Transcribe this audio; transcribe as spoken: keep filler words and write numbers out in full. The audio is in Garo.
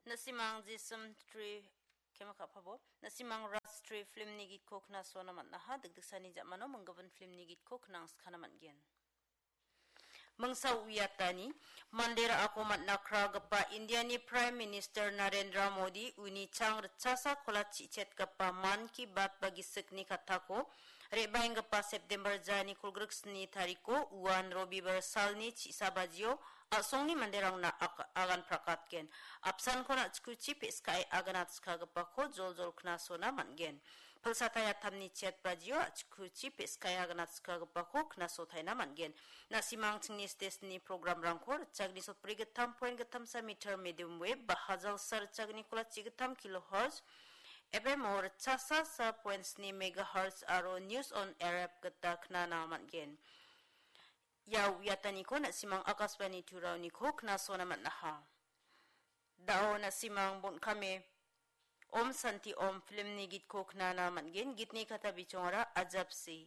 Na·simang Jisim Tri kema ka·pabo. Na·simang Raj Tri filmni gitko knasona man·aha, dikdiksani ja·mano minggimin filmni gitko knangskana man·gen. Mingsa uiatani, mande ra·ako man·na kragipa Indiani Prime Minister Narendra Modi uni chang ritchasa kola chi·chetgipa Mann Ki Baat ba gisikni kattako re·baenggipa September jani kolgriksni tariko uan Robibar salni chi·sa bajio a·songni manderangna ak-, agan prakatgen. Apsankon a·chikuchi pe·skae aganatskagipako joljol knasona man·gen. Pilsatai atamni chet bajio a·chikuchi pe·skae aganatskagipako knasotaina man·gen. Na·simang chingni stesni programrangko ritchagni sotbri gittam poin gittamsa meter medium wave ba hajalsa ritchagni kolachi gittam kilohertz, F M o ritchasa sa poin sni megahertz aro News on Air app gita knana man·gen. Ia uiataniko na·simang Akashvani Turaoniko knasona man·aha. Da·o na·simang bon·kame Om Santi Om filmni gitko knana man·gen, gitni kata bichongara Ajapsi.